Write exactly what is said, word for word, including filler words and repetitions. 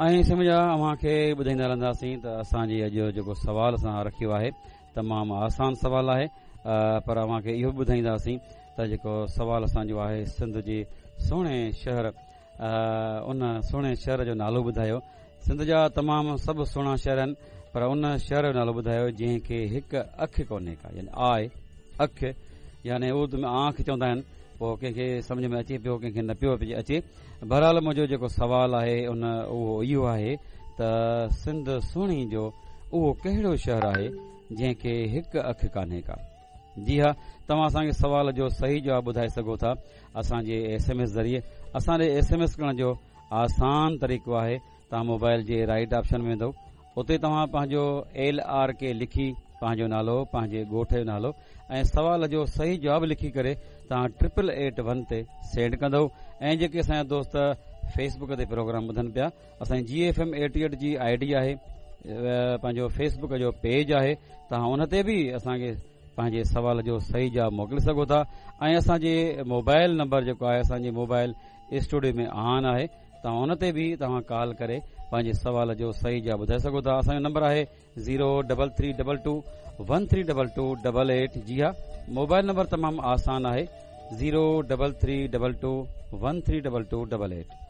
۽ سمجها اوهان کي ٻڌائيندا رهنداسين ته اسان جي اڄ جيڪو سوال اسان رکيو آهي تمام آسان سوال آهي، پر اوهان کي اهو به ٻڌائينداسين ته جيڪو سوال اسان جو آهي سنڌ جي سهڻي شهر، ان سهڻي شهر جو نالو ٻڌايو. سنڌ جا تمام سڀ سهڻا شهر آهن، پر ان شهر جو نالو ٻڌايو جنهن کي هڪ اک ڪونهي ڪا، يعني آء اک، يعني اردو ۾ آنک چوندا آهن. پوءِ ڪنهن کي سمجهه ۾ اچي پيو، ڪنهن کي نه پيو اچي. بهرحال منهنجو جيڪو سوال آهي ان اهو اهو آهي ته سنڌ سهڻي جو اهو ڪهڙو شهر آهي جنهن کي هڪ اک ڪانهي ڪا؟ جي ها، توهان اسان کي سوال جو صحيح جواب ٻڌائي سگهو ٿا اسان جي ايس ايم ايس ذريعي. اسان ڏي ايس ايم ايس ڪرڻ جو آسان طريقو آهي، توهان موبائل جي رائيٽ آپشن ۾ ويندو، اتي توهان پنهنجو ايل آر ڪي لکي پنهنجو نالو، پنهنجي ڳوٺ جو نالو ۽ سوال جو صحيح جواب لکي ڪري توهان ٽرپل ايٽ ون تي سينڊ ڪندو. ۽ جيڪي اسان جا دوست فيس بڪ تي پروگرام ٻڌن پيا، اسان جي ايف ايم ايٽي ايٽ جي I D آهي، پنهنجو فيس بڪ جو پيج آهي، توهان ان تي به اسان کي پنهنجي سوال جو صحيح جواب موڪلي سگهو ٿا. ۽ اسان جي موبائل نمبر جيڪو آهي اسان جي موبائل اسٽوڊيو ۾ آن آهي، توهان ان تي به توهان ڪال ڪري پنهنجي سوال جو صحيح جواب ٻڌائي سگهو ٿا. اسان جو نمبر آهي zero double three double two one three double two double eight. جي ها، موبائل نمبر تمام آسان آهي، zero double three double two one three double two double eight.